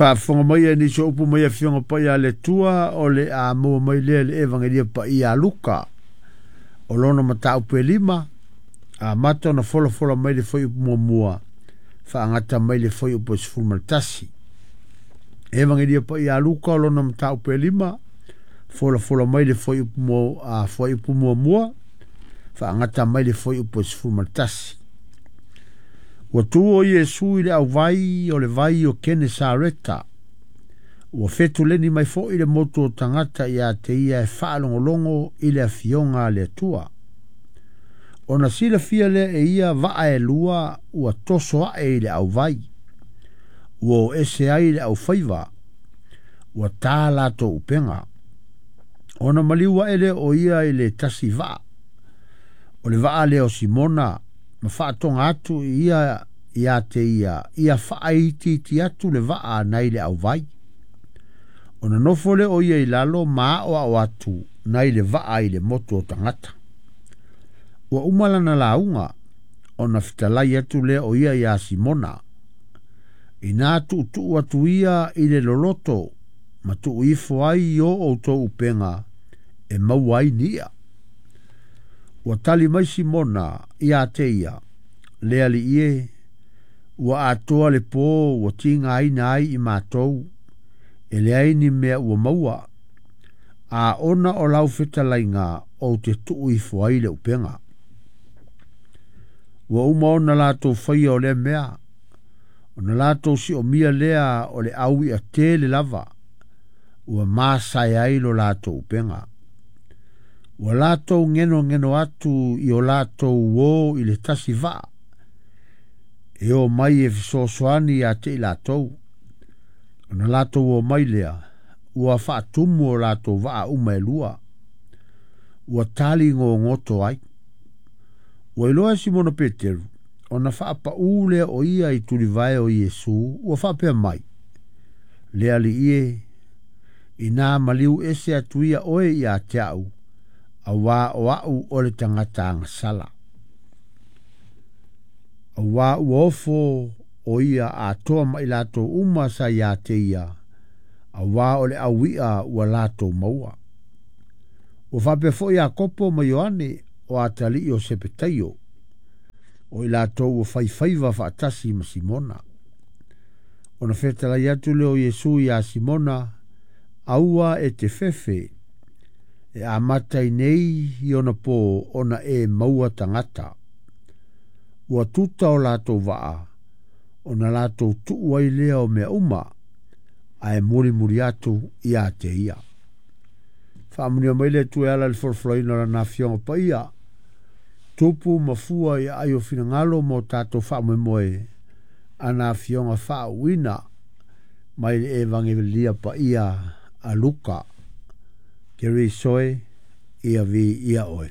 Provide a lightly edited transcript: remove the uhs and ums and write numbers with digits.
Faafofoga mai e nisi o upu mai Afioga Paia a le Atua o le a maua mai lea i le Evagelia Paia a Luka o lona mataupu e 5, amata ona folafola mai le fuaiupu muamua, faagata mai le fuaiupu e 11. Evagelia Paia a Luka o lona mataupu e 5, folafola mai le fuaiupu muamua, faagata mai le fuaiupu e 11. Ua tu o Iesu i le auvai o le vai o Kenesareta. Ua fetuleni mai foi le motu o tagata ia te ia e faalogologo i le afioga a le Atua. Ona silafia lea e ia vaa e lua ua toso ae i le auvai. Ua o ese ai le aufaiva. Ua tā latou upega. Ona maliu ae lea o ia i le tasi vaa. O le vaa lea o Simona ma faatoga atu ia ia te ia, ia faaitiiti atu le vaa nai le auvai. Ona nofo lea o ia i lalo ma aoao atu nai le vaa i le motu o tagata. Ua uma lana lauga, ona fetalai atu lea o ia ia Simona. Ina tuutuu atu ia i le loloto, ma tuu ifo ai i o outou upega e maua ai ni i'a. Ua tali mai Simona ia te ia, le Alii e, ua atoa le pō ua tigaina ai i matou, e leai ni mea ua maua, a ona o lau fetalaiga ou te tuu ifo ai le upega. Ua uma ona latou faia o lea mea, ona latou siomia lea o le au i'a tele lava, ua masae ai lo latou upega. Ua latou genogeno atu i o latou uō i le tasi vaa, e o mai e fesoasoani ia te i latou. Ona latou o mai lea, ua faatumu o latou vaa uma e lua. Ua tali gogoto ai. Ua iloa e Simona Peteru, ona faapaū lea o ia i tulivae o Iesu, ua faapea mai, Le Alii e, ina maliu ese atu ia oe ia te au, auā o au o le tagata agasala. Auā ua ofo o ia atoa ma i latou uma sa ia te ia, auā o le au i'a ua latou maua. Ua faapea foi Iakopo ma Ioane o atalii o Sepetaio, o i latou ua faifaiva faatasi ma Simona. Ona fetalai atu lea o Iesu ia Simona, aua e te fefe, e amata i nei i ona pō ona e maua tagata. Ua tuta o latou vaa, ona latou tuu ai lea o mea uma, ae mulimuli atu ia te ia. Faamanuia mai le Atua e ala i le folafolaina o Lana Afioga Paia, tupu ma fua i aai o finagalo ma o tatou faamoemoe, ana Afioga faauuina mai le Evagelia Paia a Luka. Keriso e, ia viia oe.